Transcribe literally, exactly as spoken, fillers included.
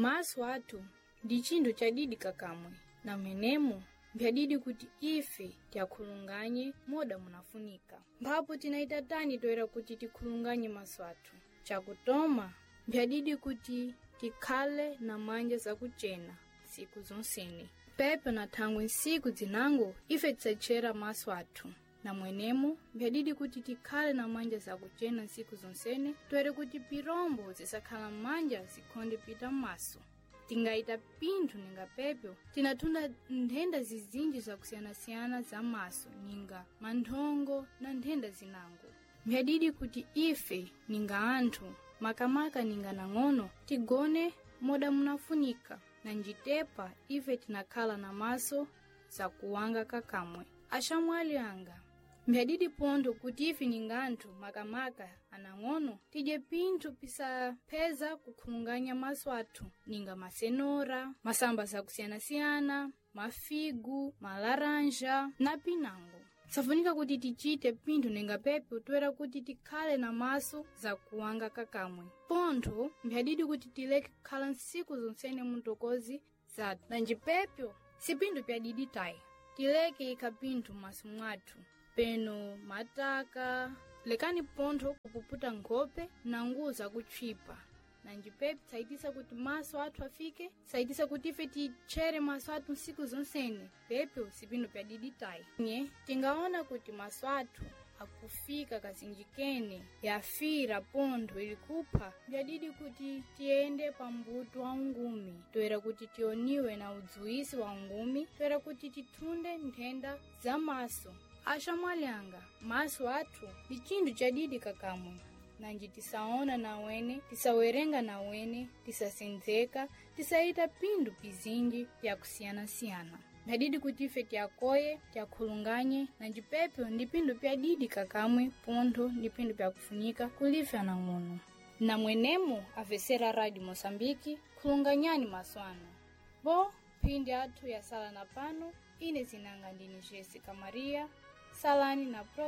Maso athu ndi chinthu chadidi kakamwe na mwenemo mbyadidi kuti ife tiyakhulunganye moda munafunika. Mphapo tinayita tani toera kuti tikhulunganye maso athu? Chakutoma mbyadidi kuti tikhale na manja zakuchena tsiku zonsene. Pepo na thangwe ntsiku zinango ife tisatchera maso athu. Na mwenemo mbyadidi kuti tikhale na manja zakuchena ntsiku zonsene toere kuti pirombo zisakhala m'manja zikhonde pita m'maso. Tingayita pinthu ninga pepyo tinathunda nthenda zizinji zakusiyanasiyana za maso ninga manthongo na nthenda zinango. Mbyadidi kuti ife ninga anthu makamaka ninga nang'ono tigone moda munafunika na njitepa ife tinakhala na maso zakuwanga kakamwe. Axamwali anga mbyadidi pontho kuti ife ninga anthu makamaka anang'ono tidye pinthu pisapheza kukhulunganya maso athu ninga masenora, masamba zakusiyanasiyana, mafigu, malaranja na pinango. Safunika kuti tichite pinthu ninga pepo toera kuti tikhale na maso zakuwanga kakamwe. Pontho mbyadidi kuti tileke kukhala ntsiku zonsene muntokozi zathu nanji pepyo si pinthu pyadidi tayi. Tileke ikha pinthu m'maso mwathu peno mataka lekani pontho kupuputa nkhope na nguwo zakutchwipa nanji pepi tsayitisa kuti maso athu afike tsayitisa kuti ife titchere maso athu ntsiku zonsene pepyo sipinthu pyadidi tayi. Nye tingaona kuti maso athu akufika kazinjikene yafira pontho ili kupha mbyadidi kuti tiyende pa mbuto wa ungumi toera kuti tioniwe na udzuwisi wa ungumi toera kuti tithunde nthenda za maso. Axamwali anga maso athu ndi chinthu chadidi kakamwe nanji tisaona nawene tisawerenga nawene tisasendzeka tisayita pinthu pizinji pyakusiyanasiyana. Mbyadidi kuti ife tiyakoye tiyakhulunganye nanji pepyo ndi pinthu pyadidi kakamwe pontho ndi pinthu pyakufunika kulife anang'ono. Na mwenemo avesera Radio Moçambique khulunganyani maso anu. Bo phindi athu yasala na pano ine zinanga ndine Jessica Maria salani na pro